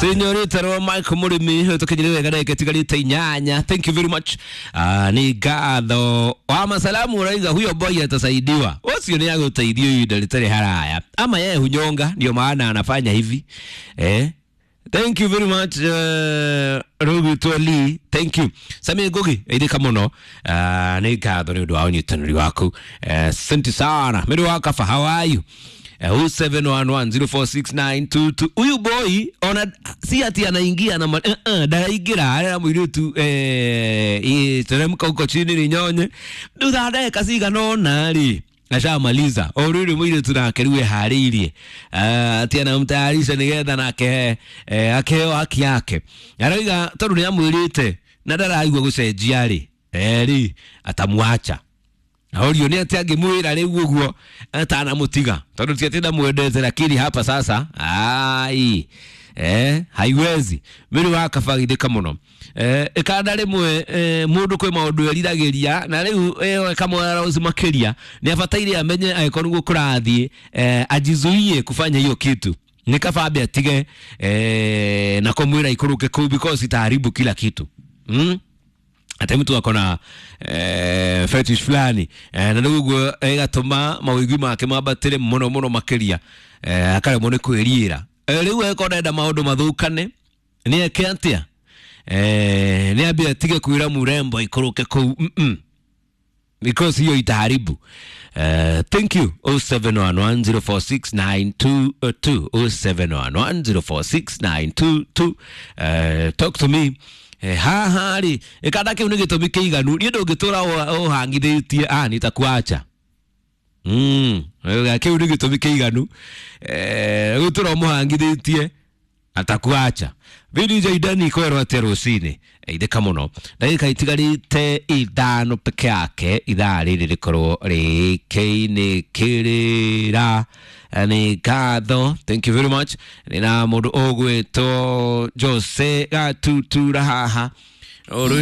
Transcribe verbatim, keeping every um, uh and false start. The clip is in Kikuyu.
Senyorita rwa Michael Murimi tukinyire wega ndagika itigarite inyanya. Thank you very much. Ah, ni ngatho wa masalamu uraiga huyo boy atasaidiwa, ucio ni agũteithio ihinda rĩtarĩ haraya, ama yeye hunyonga ndio maana anafanya hivi eh. Thank you very much, uh, Rugutwo Lee. Thank you. Sami Ngugi, ithika muno. Uh, nĩ ngatho nĩ ũndũ wa ũnyitanĩri waku. Asante sana. Mĩrĩ wa kaba, how are you? Uh, zero seven one one zero four six nine two two. Huyu boy ona si ati anaingia na uh, uh, ndaraingĩra arera mũirĩtu eh, teremka huko chini ni nyonye thutha ndagĩka cigana ũna rĩ ashamaliza o rĩrĩ mũirĩtu nake rĩu eharĩirie ati anamtayarisha nĩgetha nake eh, akeo haki yake. Arauga tondũ nĩ amwĩrĩte na ndaraigua gũcenjia rĩ rĩ atamwacha. Orio nĩ atĩ angĩmwĩra rĩu ũguo atanamũtiga, tondũ ti atĩ ndamwendete, lakini hapa sasa ai eh, haiwezi. Mĩrĩ wa kabagithĩka mũno eh, ĩkanda rĩmwe eh, mũndũ kwĩ maũndũ eriragĩria na rĩu ĩyo ĩkamwara rose makĩria. Nĩ abataire amenye angĩkorwo nĩguo kũrathiĩ eh, ajizuie kufanya hiyo kitu. Nĩ kaba ambe atige eh, na kũmwĩra ikũrũke kũu because itaharibu kila kitu mm? Ati mtu ako na eh, fetish fulani eh, na rĩu ũguo ĩgatũma mawĩgwi make mambatĩre mũno mũno makĩria eh, akaremwo nĩ kwĩriĩra eh, rĩu angĩkorwo ndenda maũndũ mathũkane nĩ eke atĩa eh, nĩ ambie atige kwĩra murembo ikũrũke kũu mm -mm. Because hiyo itaharibu. Uh, thank you. zero seven one one zero four six nine two two, zero seven one one zero four six nine two two. uh, talk to me. Eh, haha rĩ ĩkanda kĩu nĩ gĩtũmi kĩiganu niĩ ndũngĩtũra ũhangithĩtie ah nitakuacha mm kĩu nĩ gĩtũmi kĩiganu eh gũtũra ũmũhangithĩtie atakuacha. V D J Dani kwerwo atĩa rũcinĩ ithĩka mũno ndagĩka itigarĩte ithano peke yake ithaa rĩrĩ rĩkorwo rĩkĩinĩkĩrĩra. Nĩ ngatho, thank you very much. Nĩ na mũndũ ũgwĩtwo Jose Gatutura haha. Ũrũ